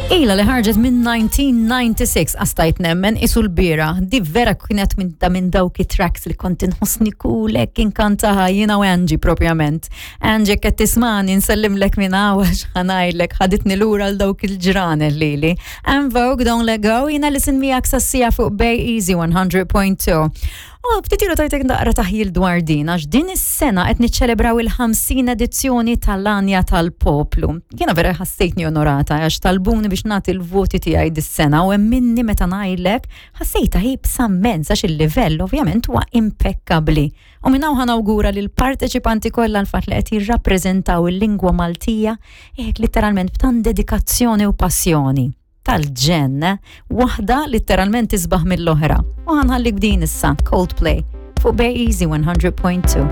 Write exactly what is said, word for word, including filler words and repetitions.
Ila li ħarġet minn nineteen ninety-six, għastajt nemmen isu l-bira. Di vera kienet minn ta' minn dawk tracks li kont inħossni kulek inkantaha jiena u Angie propjament. Angie, qed tismani, nsellimlek minn hawn għax ħa ngħidlek ħaditni lura l dawk il-ġranet lili. En Vogue, Don't Let Go, jiena li sin miegħek sassija fuq Bay Easy one hundred point two. U ftit ilu tajtek naqra taħjil dwar din, għax din is-sena qed niċċelebraw il-ħamsin edizzjoni tal-Għanja tal-Poplu. Jiena vera ħassejtni onorata għax talbuni biex nagħti l-voti tiegħi dis-sena u hemm minni meta ngħidlek ħassejta ħibsa immens għax il-livell ovvjament huwa impeccabli. U minn hawn ħa nawgura lil parteċipanti kollha l-fatt li qed jirrappreżentaw il-lingwa Maltija hekk letteralment b'tant dedikazzjoni u passjoni tal-ġenn, waħda letteralment isbaħ mill-oħra. U ħa nħallik b'din issa, Coldplay, fuq Bay Easy one hundred point two.